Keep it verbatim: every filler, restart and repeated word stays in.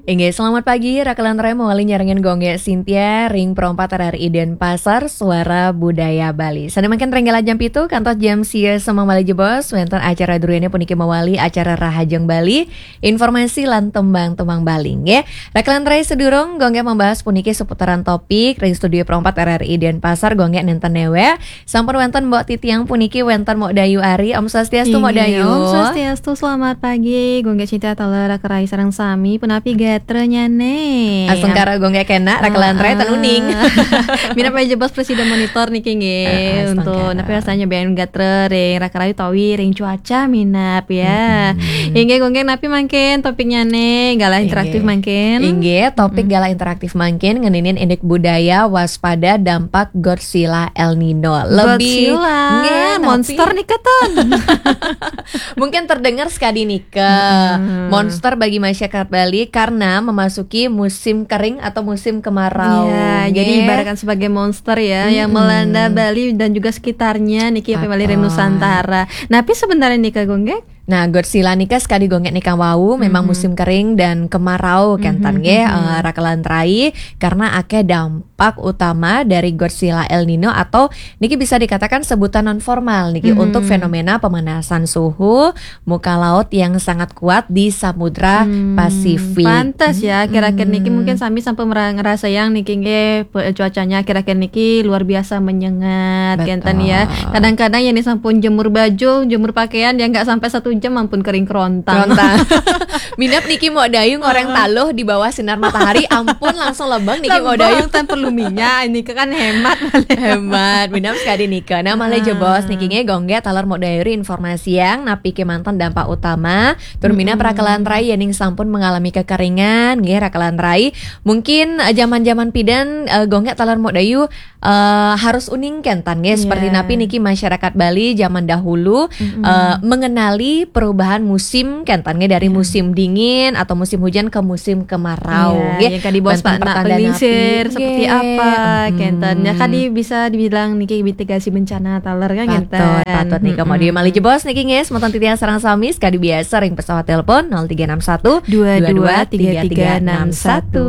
Inggih, selamat pagi, Rakelan Remo, wali nyarengin Gung Gek Sintia, ring Pro empat R R I Denpasar, Suara Budaya Bali. Sane mangkin ring galah jam pitu, kantos jam sia semeng malih jebos, wenten acara druene puniki mawali acara Rahajeng Bali, informasi lan tembang-tembang Bali, nggih. Rakelan Rai sedurung, Gung Gek membahas puniki seputaran topik, ring studio Pro empat R R I Denpasar, Gung Gek nenten newek, sampun wenten Mbok Titiang puniki wenten Mbok Dayu Ari. Om Swastiastu, Mbok Inggih, Dayu. Om Swastiastu, selamat pagi. Gung Gek Sintia taler Rakelan Rai sareng sami, punapi gatra nyane? Astungkara Gung Gek kenak, Rakelan Rai ten uning. Minab malih jebos presiden monitor niki nggih. Ah, astungkara. Untuk napi rasanya ben gatra ring Rakelan Rai utawi ring cuaca minab ya. Mm-mm. Inggih Gung Gek, napi mangkin topiknyane, galah interaktif mangkin? Inggih, topik galah interaktif mangkin ngeninin indik budaya waspada dampak Godzilla El Nino. Lebih Godzilla, nggih, monster napi? Nika ten. Mungkin terdengar sekadi nika. Mm-mm. Monster bagi masyarakat Bali karena memasuki musim kering atau musim kemarau. Ya, jadi ibaratkan sebagai monster ya, yang melanda Bali dan juga sekitarnya niki, apa, Bali ring Nusantara. Napi sebenarnya nika, Gung Gek? Nah, Godzilla nika sekadi Gung Gek nika wau, memang musim kering dan kemarau, kenten nggih, eh, Rakelan Rai, karena akeh dampak utama dari Godzilla El Nino atau niki bisa dikatakan sebutan non formal niki untuk fenomena pemanasan suhu muka laut yang sangat kuat di Samudra Pasifik. Pantes ya, akhir-akhir niki mungkin sami sampun mera-, ngerasa yang niki nggih, pe-, cuacanya akhir-akhir niki luar biasa menyengat, kenten ya. Betul. Kadang-kadang ya nih sampun jemur baju, jemur pakaian, ya nggak sampai satu jam ampun kering kerontang. Kerontang. Minab niki Mbok Dayu ngoreng taluh di bawah sinar matahari, ampun langsung lebeng niki Mbok Dayu. Lebeng tan perlu minyak, ini kan hemat. Hemat, minab sekadi nika. Nah, malih jebos niki nggih Gung Gek taler Mbok Dayu ri informasi yang napi kemanten dampak utama. Tur minab Rakelan Rai yening sampun mengalami kekeringan, nggih Rakelan Rai. Mungkin, eh, zaman-zaman pidan, eh, Gung Gek taler Mbok Dayu, eh, harus uning kenten nggih, seperti napi niki masyarakat Bali zaman dahulu, eh, mengenali perubahan musim kenten nggih, dari musim dingin atau musim hujan ke musim kemarau, nggih. Yang kadi bos wenten Pak, nak pertanda napi, penglingsir seperti apa, kenten. Ya, kadi bisa dibilang niki mitigasi bencana taler kan, kenten. Patut, patut nika. Malih jebos niki nggih, semeton titiang sareng sami sekadi biasa ring pesawat telepon nol tiga enam satu dua dua tiga tiga enam satu.